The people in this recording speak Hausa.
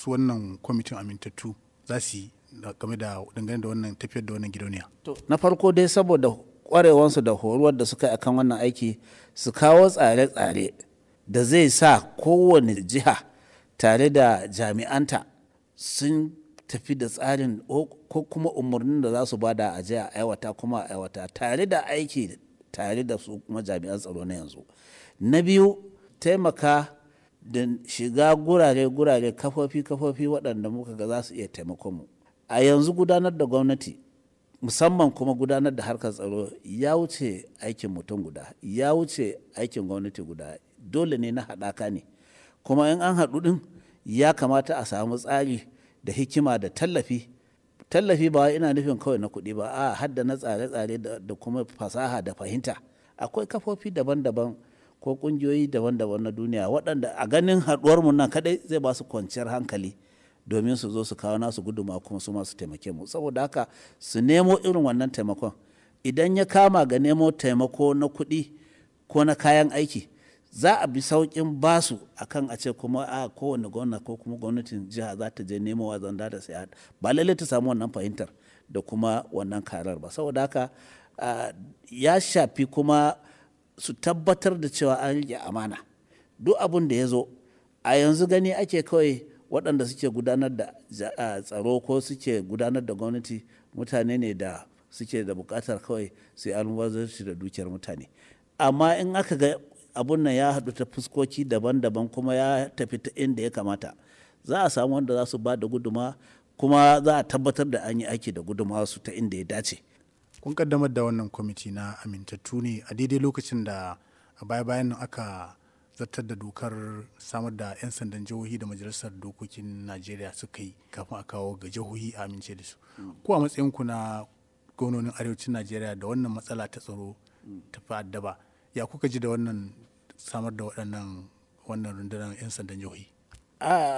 su wannan kwamitin amintattu za su yi game da dangane da wannan tafiyar da wannan gidauniya? To, na farko dai, saboda kwarewansu da horuwar da suka yi akan wannan aiki, su kawo tsare-tsare da zai sa kowane jiha tare da jami'anta sun tafi da tsarin ko kuma umarnin da za su bada a je a aiwata, kuma a aiwata tare da aiki tare da su kuma jami'an tsaro na yanzu. Na biyu, taimaka da shiga gurare-gurare, kafofi-kafofi waɗanda muka ga za su iya taimakon mu. A yanzu gudanar da gwamnati, musamman kuma gudanar da harkar tsaro, ya wuce aikin mutum guda, ya wuce aikin gwamnati guda. Dole ne na haɗaka ne, kuma in an haɗu ɗin ya kamata a samu tsari da hikima da tallafi. Tallafi ba ina nufin kawai na kuɗi ba, a hadda na tsare-tsare da kuma fasaha da fahimta. Akwai kafofi daban-daban ko ƙungiyoyi daban-daban na duniya waɗanda a ganin haɗuwarmu nan kaɗai zai ba su kwanciyar hankali domin su zo su kawo nasu guduma kuma su masu taimake mu. Saboda haka su nemo irin wannan taimakon. Idan ya kama ga nemo taimako na kuɗi ko na kayan aiki, za a bi sauƙin basu akan a ce kuma a kowane gwamna ko kuma gwamnatin jiha za ta je nemo wa zanda da saya, ba lallai ta samu wannan fahimtar da kuma wannan karar ba. Saboda haka ya shafi kuma su tabbatar da cewa an riƙe amana. Duk abin da ya zo a yanzu, gani ake kawai waɗanda suke gudanar da tsaro ko suke gudanar da gwamnati mutane ne da suke da buƙatar kawai su yi almubazzaranci da dukiyar mutane. Amma in aka ga abun nan ya haɗu ta fuskoki daban-daban kuma ya tafi ta inda ya kamata, za a samu wanda za su ba da guduma, kuma za a tabbatar da an yi aiki da guduma su ta inda ya dace. Kun kaddamar da wannan kwamiti na amintattu ne a daidai lokacin da a baya-bayan nan aka zartar da dokar samar da 'yan sandan jihohi da Majalisar Dokokin Najeriya suka yi kafin a kawo ga jihohi a amince da su. Ko a matsayinku na gwamnonin arewacin Najeriya da wannan matsala ta tsaro ta fi addaba, ya kuka ji da wannan samar da waɗannan wannan rundunar 'yan sandan jihohi? A